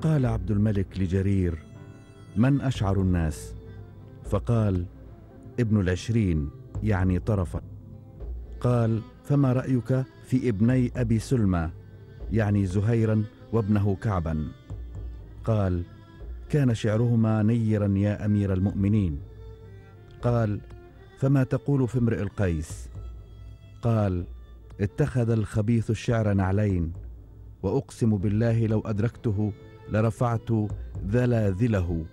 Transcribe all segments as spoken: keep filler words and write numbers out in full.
فقال عبد الملك لجرير: من أشعر الناس؟ فقال: ابن العشرين، يعني طرفة. قال: فما رأيك في ابني أبي سلمى، يعني زهيرا وابنه كعبا؟ قال: كان شعرهما نيرا يا أمير المؤمنين. قال: فما تقول في امرئ القيس؟ قال: اتخذ الخبيث الشعر نعلين، وأقسم بالله لو أدركته لرفعت ذلاذله،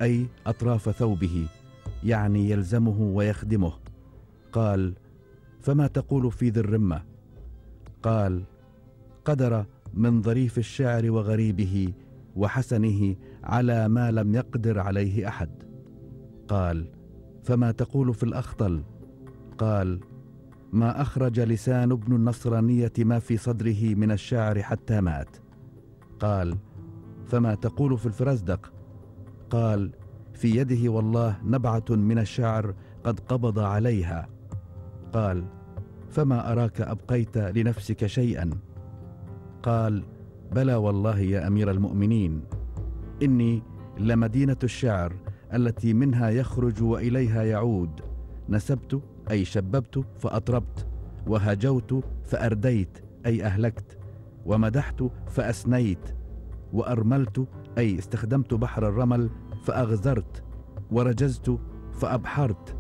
أي أطراف ثوبه، يعني يلزمه ويخدمه. قال: فما تقول في ذي الرمة؟ قال: قدر من ظريف الشعر وغريبه وحسنه على ما لم يقدر عليه أحد. قال: فما تقول في الأخطل؟ قال: ما أخرج لسان ابن النصرانية ما في صدره من الشعر حتى مات. قال: فما تقول في الفرزدق؟ قال: في يده والله نبعة من الشعر قد قبض عليها. قال: فما أراك أبقيت لنفسك شيئا؟ قال: بلى والله يا أمير المؤمنين، إني لمدينة الشعر التي منها يخرج وإليها يعود، نسبت أي شببت فأطربت، وهجوت فأرديت أي أهلكت، ومدحت فأسنيت، وأرملت أي استخدمت بحر الرمل فأغزرت، ورجزت فأبحرت.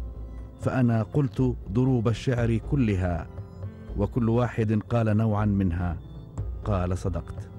فأنا قلت ضروب الشعر كلها، وكل واحد قال نوعا منها. قال: صدقت.